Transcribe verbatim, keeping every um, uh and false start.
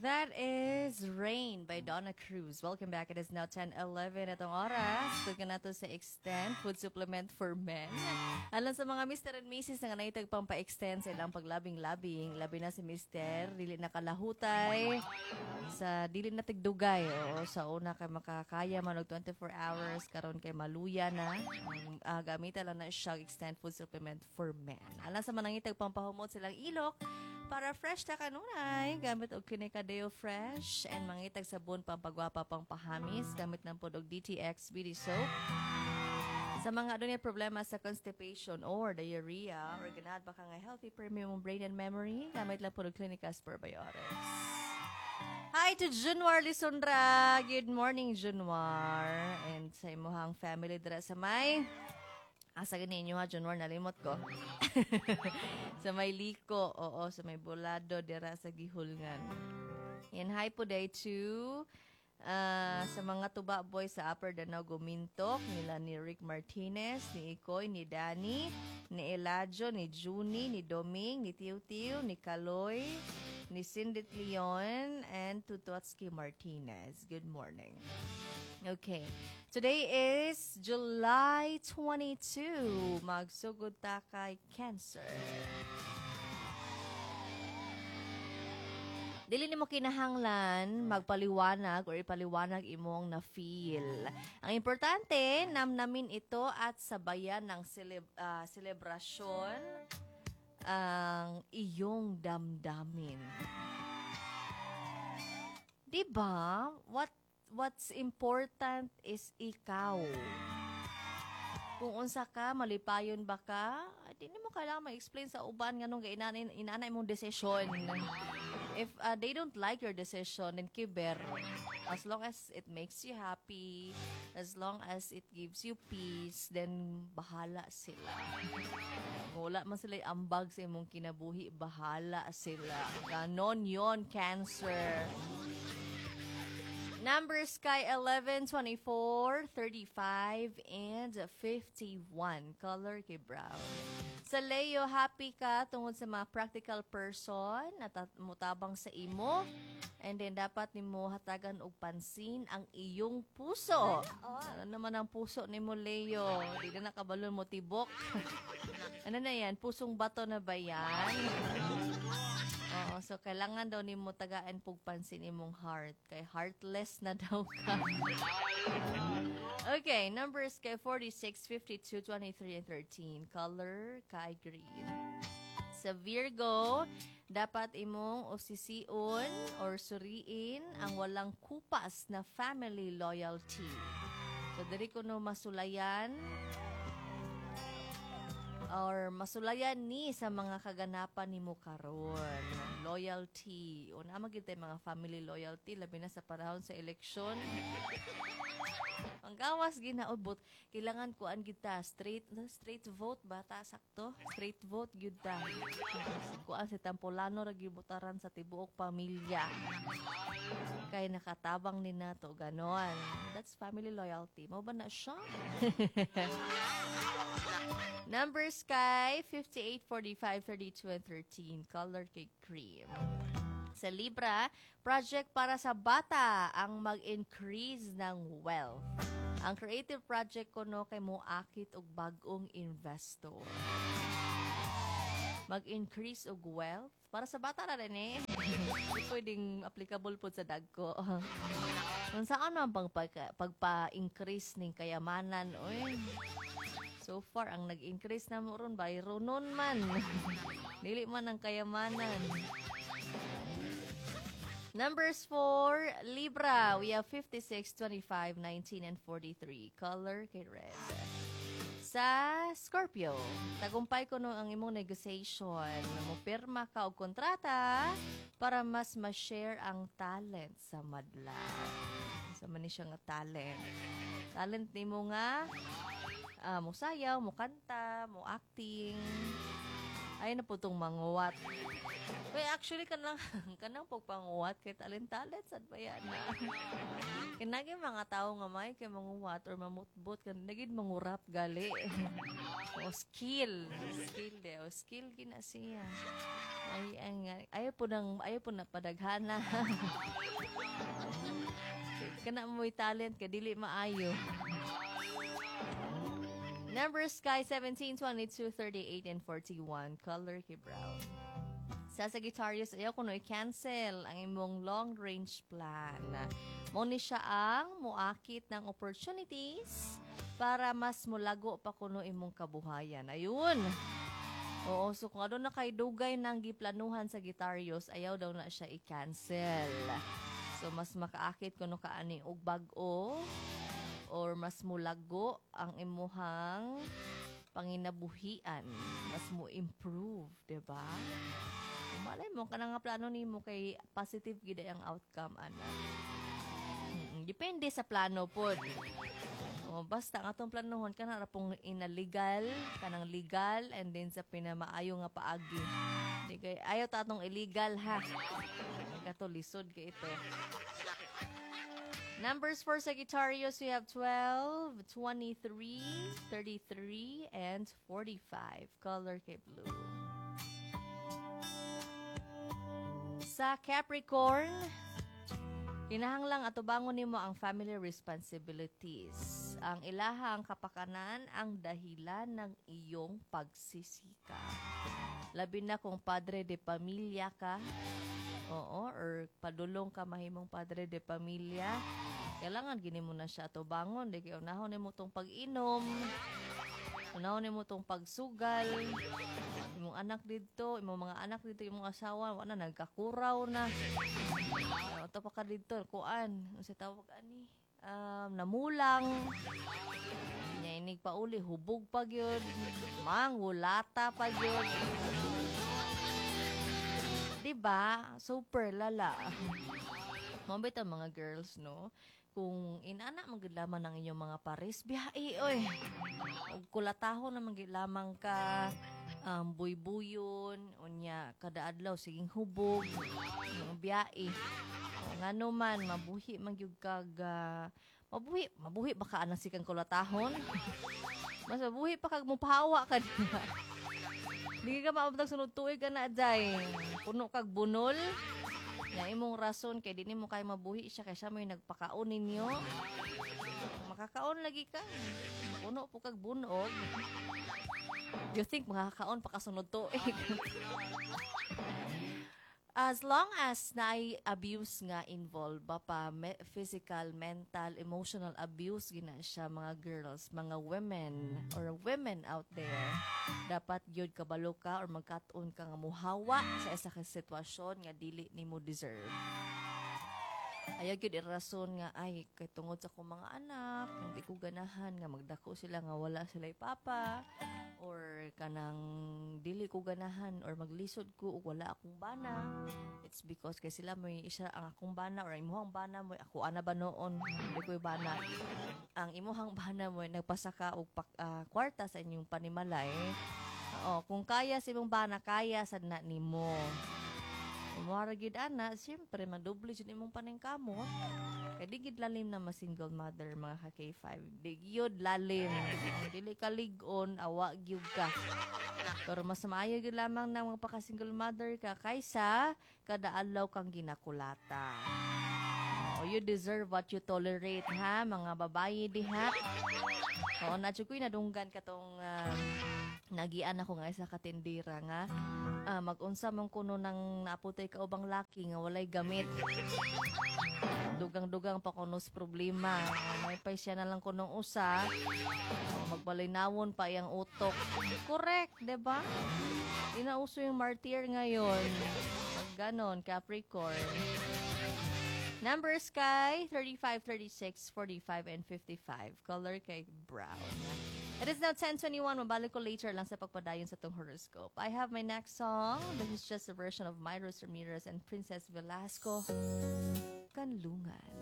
That is Rain by Donna Cruz. Welcome back. It is now ten eleven atong oras. Tugka nato sa Extend Food Supplement for Men. Alang sa mga Mister and Missus nga nangitag pampa-extend sa ilang paglabing-labing, labi na si Mister, dili na kalahutay, sa dili na tigdugay. Oo, sa una kay makakaya man og twenty-four hours, karon kay maluya na. Ang uh, gamitan lang na siya Extend Food Supplement for Men. Alang sa manangitag pampahumot silang ilok, para fresh ta kanunay, gamit og Clinica Deo Fresh and mangitag sabon pampagwapa, pangpahamis, gamit ng pod og D T X Beauty Soap. Sa mga adunay problema sa constipation or diarrhea or ganahan ba ka nga healthy premium brain and memory, gamit lang pod og Clinica's Probiotics. Hi to Junwar Lisondra. Good morning, Junwar. And sa imuhang family dira sa may, asa gani inyo ha, Junwar, nalimot ko. Sa may Liko, oo, sa may Bulado, dira sa Gihulngan. And hi po day to ah, sa mga tuba boys sa Upper Danao Gumintok, nila ni Rick Martinez, ni Ikoy, ni Danny, ni Eladio, ni Juni, ni Doming, ni Tiu Tiu, ni Kaloy, ni Cindy Leon, and Tutotsky Martinez. Good morning. Okay. Today is July twenty-two. Magsugod ta kay Cancer. Dili nimo kinahanglan magpaliwanag or ipaliwanag imong na-feel. Ang importante, namnamin ito at sabayan ng celeb- ah, selebrasyon ang iyong damdamin. 'Di ba? What what's important is ikaw. Kung unsa ka, malipayon ba ka, di nimo kailangan ma-explain sa uban nganong inana inana imong desisyon. If uh, they don't like your decision, then kiber. As long as it makes you happy, as long as it gives you peace, then bahala sila. Kung wala man sila ambag sa imong kinabuhi, bahala sila. Ganon yon, Cancer. Numbers kay eleven, twenty-four, thirty-five, and fifty-one. Color kay brown. Sa Leo, happy ka tungod sa mga practical person na mutabang sa imo. And then, dapat nimo hatagan og pansin ang iyong puso. Ano naman ang puso nimo, Leo? Di na nakabalon mo tibok. Ano na yan? Pusong bato na ba yan? Oo, so kailangan daw nimo tagaan pug pansin imong heart kay heartless na daw ka. Okay, numbers kay forty-six, fifty-two, twenty-three, and thirteen. Color kay green. Sa Virgo, dapat imong usisiun or suriin ang walang kupas na family loyalty. So, diri ko no masulayan or masulayan ni sa mga kaganapan nimo karon. Loyalty. O naa gyud tay mga family loyalty, labi na sa panahon sa eleksyon. Ang gawas ginaubot, kailangan kuan gyud ta straight straight vote ba ta, sakto? Straight vote gyud ta. Kuan si Tampolano ra gyud butaran sa tibuok pamilya. Kay nakatabang ni nato ganon. That's family loyalty. Mao ba na siya? Numbers kay fifty-eight, forty-five, thirty-two, and thirteen. Color kay cream. Sa Libra, project para sa bata ang mag-increase ng wealth. Ang creative project kuno kay moakit og bag-ong investor. Mag-increase og wealth para sa bata na rin eh. Di pwedeng applicable po sa dagko. Kung saan man pang pagka, pagpa-increase ning kayamanan, oy. So far, ang nag-increase na mo ron, bayronon man. Dili man ang kayamanan. Numbers for Libra, we have fifty-six, twenty-five, nineteen, and forty-three. Color kay red. Sa Scorpio, tagumpay kuno ang imong negotiation. Mo pirma ka og kontrata para mas ma-share ang talent sa madla. Sa man ni siya nga talent. Talent nimo nga ah, mo sayaw, mo kanta, mo acting. Ay na po tong manguwat. Kaya actually kanang kanang pagpanguwat kay talent-talent sad ba yan na. Kinagi mga tao nga may kay manguwat or mamutbot kan nagid mangurap gali. O skill, skill de, o skill gina siya. Ay ang ayaw po nang ayaw po na padaghana. Kana mo'y talent ka dili maayo. Numbers kay seventeen, twenty-two, thirty-eight, and forty-one. Color kay brown. Sa Sagittarius, ayaw kuno i-cancel ang imong long-range plan. Mo ni siya ang muakit ng opportunities para mas mulago pa kuno imong kabuhayan. Ayun. Oo, so kung ano na kay dugay nang giplanuhan, Sagittarius, ayaw daw na siya i-cancel. So mas makaakit kuno ka ani og bag-o or mas mulago ang imuhang panginabuhian, mas mo improve, 'di ba? Malay mo kana nga plano nimo kay positive gid ang outcome ana. Mm, depende sa plano pod. Oh, basta ang atong planohon kana ra pong inalegal, kanang legal and then sa pinamaayo nga paagi. Di kay ayaw ta atong illegal ha. Kato lisod kay ito. Numbers for Sagittarius, we have twelve, twenty-three, thirty-three, and forty-five. Color kay blue. Sa Capricorn, kinahanglang atubangon nimo ang family responsibilities. Ang ilahang kapakanan ang dahilan ng iyong pagsisikap. Labi na kung padre de pamilya ka, oo, or padulong ka mahimong padre de pamilya, kailangan gini mo na siya atubangon. Di kay unahon nimo tong pag-inom, unahon nimo tong pagsugal, imong anak didto, imong mga anak didto, imong asawa, wala na, nagkakuraw na. Uh, pa ka didto, kuan, unsa tawag ani? Um, namulang. Nya inig pauli, hubog pa gyud, mangulata pa gyud. Diba? Super lala. Mao ang mga girls, no? Kung inana man gyud lamang ang inyong mga pares, biyahe oy. Og kulatahon naman gyud lamang ka, um, buybuyon, unya kada adlaw siging hubog, mga biyahe. Ngano man mabuhi man gyud kag uh, mabuhi, mabuhi ba ka anang sikang kulatahon? Mas mabuhi pa kag mopahawa ka diha. Di ka maabot sunod tuig ka na day. Puno kag bunol. Na imong rason kay di nimo kay mabuhi siya kay siya mo'y nagpakaon ninyo. Makakaon lagi ka. Puno po kag bunog. You think makakaon pa kasunod tuig? As long as naay abuse nga involved ba pa, me- physical, mental, emotional abuse gina siya, mga girls, mga women or women out there, dapat gyud kabalo ka or magkat-on ka nga muhawa sa isa ka sitwasyon nga dili nimo deserve. Ayaw gyud irason nga ay kay tungod sa akong mga anak, hindi ko ganahan nga magdako sila nga wala sila papa or kanang dili ko ganahan or maglisod ko ug wala akong bana. It's because kay sila may isa ang akong bana or imuhang bana mo ako ana ba noon hindi ko bana. Ang imuhang bana mo nagpasaka og pak, ah, kwarta sa inyong panimalay. Oo, kung kaya sa imong bana, kaya sad na nimo. Umuara gid ana, siyempre madoble jud imong paningkamot. Kay di gid lalim na ma-single mother, mga ka K five. Di gyud lalim. Kung dili ka lig-on, awa gyud ka. Pero mas maayo gyud lamang na magpaka-single mother ka kaysa kada adlaw kang ginakulata. Oh, you deserve what you tolerate ha, mga babayi diha. Oo, na ko'y nadunggan katong um, nagian ako nga isa ka tindira nga ah, mag-unsa man kuno nang naaputay ka ubang laki nga walay gamit. Dugang-dugang pa kuno sa problema. May pa siya na lang kunong usa. Oh, magbalinawon pa iyang utok. Correct, 'di ba? Inauso yung martyr ngayon. Pag ganon, Capricorn. Numbers kay thirty-five, thirty-six, forty-five, and fifty-five. Color kay brown. It is now ten twenty-one. Mabalik ko later lang sa pagpadayon sa tong horoscope. I have my next song. This is just a version of Myros Ramirez and Princess Velasco. Kanlungan.